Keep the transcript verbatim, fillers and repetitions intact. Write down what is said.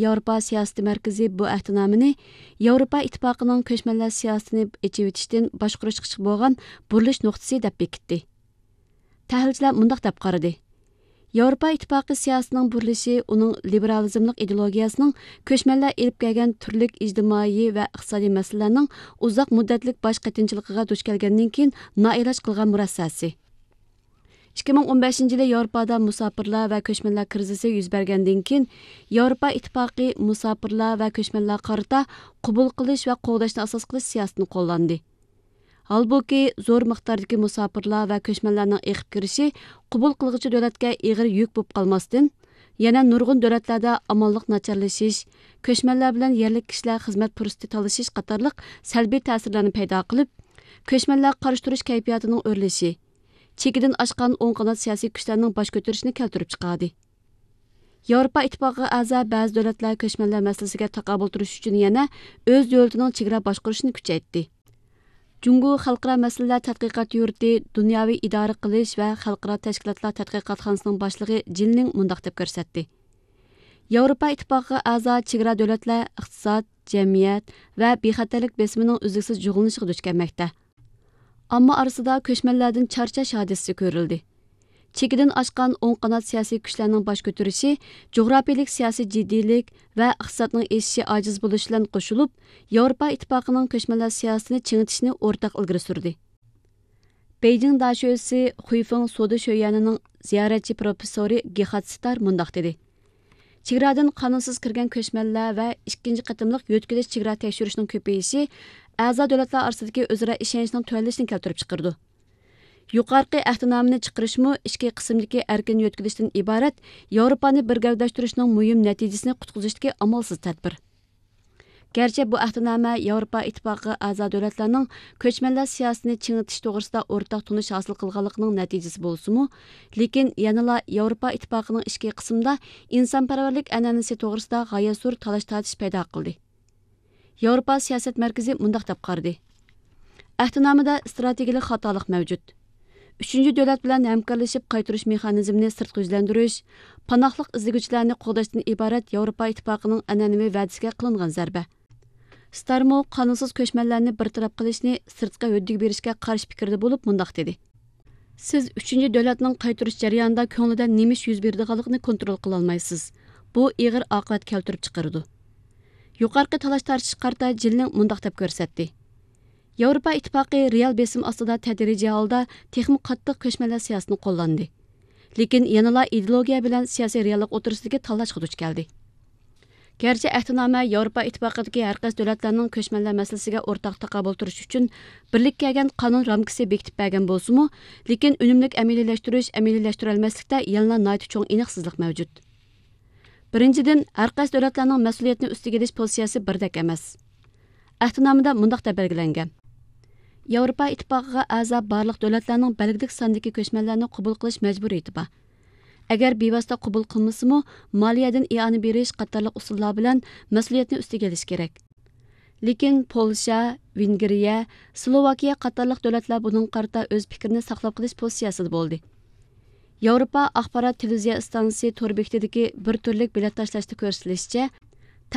ياۋروپا سىياسىتى مەركىزى بۇ ئەھدىنامىنى ياۋروپا ئىتتىپاقىنىڭ كۆچمەنلەر سىياسىتىنى ئېچىۋېتىشتىن باشقۇرۇشقا بولغان بۇرۇلۇش نۇقتىسى دەپ بېكىتتى. تەھلىلچىلەر مۇنداق دەپ قارىدى: ياۋروپا ئىتتىپاقى سىياسىتىنىڭ بۇرۇلۇشى ئۇنىڭ لىبېرالىزملىق ئىدېئولوگىيەسىنىڭ كۆچمەنلەر ئېلىپ كەلگەن تۈرلۈك ئىجتىمائىي ۋە ئىقتىسادىي مەسىلىلەرنىڭ ئۇزاق مۇددەتلىك باش قېتىنچىلىقىغا دۇچ كەلگەندىن كېيىن نائىلاج قىلغان مۇرەسسەسى. ئىككى مىڭ ئون بەشىنچى يىلى ياۋروپادا مۇساپىرلار ۋە كۆچمەنلەر كىرىزىسى يۈز بەرگەندىن كېيىن، ياۋروپا ئىتتىپاقى مۇساپىرلار ۋە كۆچمەنلەرگە قارىتا قوبۇل قىلىش ۋە قوغداشنى ئاساس قىلىش سىياسىتىنى قوللاندى. ھالبۇكى، زور مىقداردىكى مۇساپىرلار ۋە كۆچمەنلەرنىڭ ئېقىپ كىرىشى قوبۇل قىلغۇچى دۆلەتكە ئېغىر يۈك بولۇپ قالماستىن، يەنە نۇرغۇن دۆلەتلەردە ئامانلىق ناچارلىشىش، كۆچمەنلەر بىلەن يەرلىك كىشىلەر خىزمەت پۇرسىتى تالىشىش قاتارلىق سەلبىي تەسىرلەرنى پەيدا قىلىپ، كۆچمەنلەرگە قارشى تۇرۇش كەيپىياتىنىڭ ئۆرلىشى، چېكىدىن ئاشقان ئوڭ قانات سىياسىي كۈچلەرنىڭ باش كۆتۈرۈشىنى كەلتۈرۈپ چىقاردى. ياۋروپا ئىتتىپاقىغا ئەزا بەزى دۆلەتلەر كۆچمەنلەر مەسىلىسىگە تاقابىل تۇرۇش ئۈچۈن يەنە ئۆز دۆلىتىنىڭ چېگرا باشقۇرۇشىنى كۈچەيتتى. جۇڭگو خەلقئارا مەسىلىلەر تەتقىقات يۇرتى دۇنياۋى ئىدارە قىلىش ۋە خەلقئارا تەشكىلاتلار تەتقىقاتخانىسىنىڭ باشلىقى جىن لىڭ مۇنداق دەپ كۆرسەتتى: ياۋروپا ئىتتىپاقىغا ئەزا چېگرا دۆلەتلەر ئىقتىساد، جەمئىيەت ۋە بىخەتەرلىك بېسىمىنىڭ ئۈزلۈكسىز جۇغلىنىشىغا دۇچ كەلمەكتە. ئامما ئارىسىدا كۆچمەنلەردىن چارچاش ھادىسىسى كۆرۈلدى. چېكىدىن ئاشقان ئوڭ قانات سىياسىي كۈچلەرنىڭ باش كۆتۈرۈشى جۇغراپىيىلىك سىياسىي جىددىيلىك ۋە ئىقتىسادنىڭ ئېشىشى ئاجىز بولۇش بىلەن قوشۇلۇپ، ياۋروپا ئىتتىپاقىنىڭ كۆچمەنلەر سىياسىتىنى چىڭىتىشنى ئورتاق ئىلگىرى سۈردى. بېيجىڭ داشۆسى خۇيفېڭ سودا شۆيۈەنىنىڭ زىيارەتچى پروفېسسورى گېخارد ستار مۇنداق دېدى: چېگرادىن قانۇنسىز كىرگەن كۆچمەنلەر ۋە ئىككىنچى قېتىملىق يۆتكىلىش چېگرا تەكشۈرۈشنىڭ كۆپىيىشى ئەزا دۆلەتلەر ئارىسىدىكى ئۆزئارا ئىشەنچنىڭ تۆۋەنلىشىنى كەلتۈرۈپ چىقىرىدۇ. يۇقىرىقى ئەھدىنامىنى چىقىرىشمۇ ئىچكى قىسىمدىكى ئەركىن يۆتكىلىشتىن ئىبارەت ياۋروپانى بىر گەۋدىلەشتۈرۈشنىڭ مۇھىم نەتىجىسىنى قۇتقۇزۇشتىكى ئامالسىز تەدبىر. گەرچە بۇ ئەھدىنامە ياۋروپا ئىتتىپاقىغا ئەزا دۆلەتلەرنىڭ كۆچمەنلەر سىياسىتىنى چىڭىتىش توغرىسىدا ئورتاق تونۇش ھاسىل قىلغانلىقىنىڭ نەتىجىسى بولسىمۇ، لېكىن يەنىلا ياۋروپا ئىتتىپاقىنىڭ ئىچكى قىسمىدا ئىنسانپەرۋەرلىك ئەنئەنىسى توغرىسىدا غايەت زور تالاش-تارتىش پەيدا قىلدى. ياۋروپا سىياسەت مەركىزى مۇنداق دەپ قارىدى: ئەھدىنامىدە ئىستراتېگىيەلىك خاتالىق مەۋجۇت. ئۈچىنچى دۆلەت بىلەن ھەمكارلىشىپ قايتۇرۇش مېخانىزمىنى سىرتقا يۈزلەندۈرۈش، پاناھلىق ئىزدىگۈچىلەرنى قوغداشتىن ئىبارەت ياۋروپا ئىتتىپاقىنىڭ ئەنئەنىۋى ۋەدىسىگە قىلىنغان زەربە. ستارمۇ قانۇنسىز كۆچمەنلەرنى بىر تەرەپ قىلىشنى سىرتقا ھۆددە بېرىشكە قارشى پىكىردە بولۇپ مۇنداق دېدى: سىز ئۈچىنچى دۆلەتنىڭ قايتۇرۇش جەريانىدا كۆڭلىدە نېمە ئىش يۈز بېرىدىغانلىقىنى كونترول قىلالمايسىز. بۇ ئېغىر ئاقىۋەت كەلتۈرۈپ چىقىرىدۇ. يۇقىرىقى تالاش-تارتىشقا قارىتا جىن لىڭ مۇنداق دەپ كۆرسەتتى: ياۋروپا ئىتتىپاقى رېئال بېسىم ئاستىدا تەدرىجىي ھالدا تېخىمۇ قاتتىق كۆچمەنلەر سىياسىتىنى قوللاندى. لېكىن يەنىلا ئىدېئولوگىيە بىلەن سىياسىي رېئاللىق ئوتتۇرىسىدىكى تاللاشقا دۇچ كەلدى. گەرچە ئەھدىنامە ياۋروپا ئىتتىپاقىدىكى ھەر قايسى دۆلەتلەرنىڭ كۆچمەنلەر مەسىلىسىگە ئورتاق تاقابىل تۇرۇش ئۈچۈن بىرلىككە كەلگەن قانۇن رامكىسى بېكىتىپ بەرگەن بولسىمۇ، لېكىن ئۈنۈملۈك ئەمەلىيلەشتۈرۈش، ئەمەلىيلەشتۈرەلمەسلىكتە يەنىلا ناھايىتى چوڭ ئېنىقسىزلىق مەۋجۇت. بىرىنچىدىن، ھەر قايسى دۆلەتلەرنىڭ مەسئۇلىيەتنى ئۈستىگە ئېلىش پوزىتسىيەسى بىردەك ئەمەس. ئەھدىنامىدە مۇنداق دەپ بەلگىلەنگەن: ياۋروپا ئىتتىپاقىغا ئەزا بارلىق دۆلەتلەرنىڭ بەلگىلىك ساندىكى كۆچمەنلەرنى قوبۇل قىلىش مەجبۇرىيىتى بار. ئەگەر بىۋاسىتە قوبۇل قىلمىسىمۇ، مالىيەدىن ئىئانە بېرىش قاتارلىق ئۇسۇللار بىلەن مەسئۇلىيەتنى ئۈستىگە ئېلىشى كېرەك. لېكىن پولشا، ۋېنگرىيە، سلوۋاكىيە قاتارلىق دۆلەتلەر بۇنىڭغا قارىتا ئۆز پىكرىنى ساقلاپ قېلىش پوزىتسىيەسىدە بولدى. ياۋروپا ئاخبارات تېلېۋىزىيە ئىستانسىسى تور بېكىتىدىكى بىر تۈرلۈك بېلەت تاشلاشتا كۆرسىتىلىشىچە،